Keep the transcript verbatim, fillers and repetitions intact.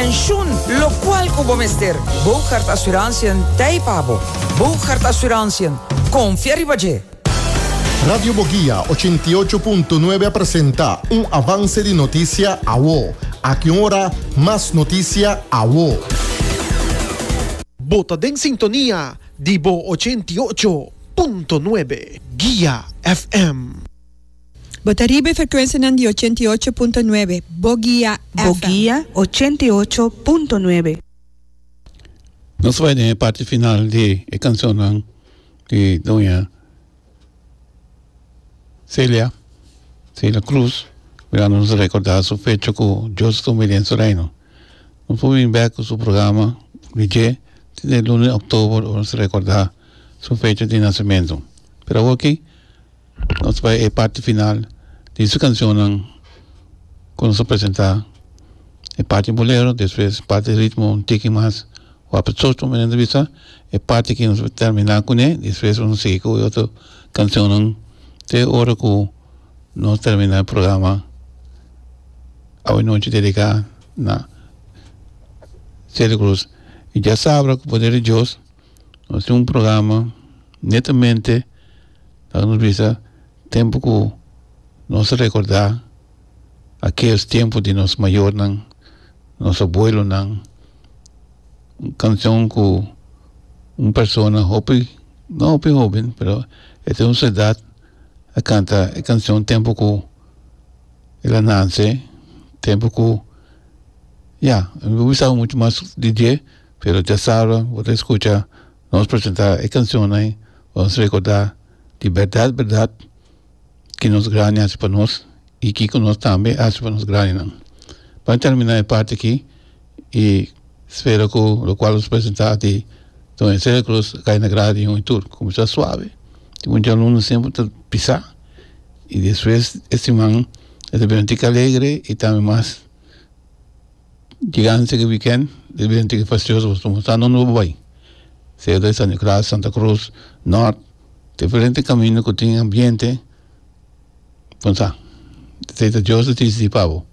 Pensioen, locual cu bo mester. Boogaard Assurantiën, t'ey pa bo. Boogaard Assurantiën, confia riba dje. Radio Boguia ochenta i ocho punto nuebe a presenta un avance di noticia awo. Aki un ora, mas noticia awo. Bo ta den sintonia di Bo ochenta i ocho punto nuebe Guia F M. Bo ta riba e frecuencia di ochenta i ocho punto nuebe, Boguia F M. Boguia ochenta i ocho punto nuebe. Nos ta bay den e parti final di e cancion di doña Celia, Celia Cruz, mirando nos recorda su fecha cu Dios ta den su reino. Nos por bin back cu su programa D J di luna di october, nos recorda su fecha di nacimento. Pero aki, nos ta bay e parti final di su cancion cu nos presenta e parti bolero, despues parti ritmo un tiki mas, o a mi entrevista, e parti cu nos ta termina cu ne, despues nos sigui cu otro cancion, te ora cu nos termina e programa awe nochi dedica na Celia Cruz. Y diasabra, cu poder di Dios, nos tin un programa netamente pa nos bisa tempo cu nos recorda aquel tempo di nos mayornan, nos abuelonan, un cancion cu un persona hopi, no hopi hoben, pero e tin un edad, a canta e cancion tempo cu el a nace, tempo cu, ya, no ta mucho mas D J, pero diasabra, bo ta scucha nos presenta e cancion ey, ban recorda di berdad, berdad, cu nos grandi a haci pa nos y cu nos tambe a haci pa nos grandinan. Pa termina e parti aki y spera cu locual nos presenta di Doña Celia Cruz cay na agrado di un tur, cuminsa suave. Tin un alumno semper ta pisa y despues e siman e ta bin alegre y tambe mas gigante cu weekend, e bin fastioso, nos no no bay. Sea di San Nicolas, Santa Cruz, Norte, diferente caminda cu tin ambiente. Pensa, sea Dios ta dicidi pa bo.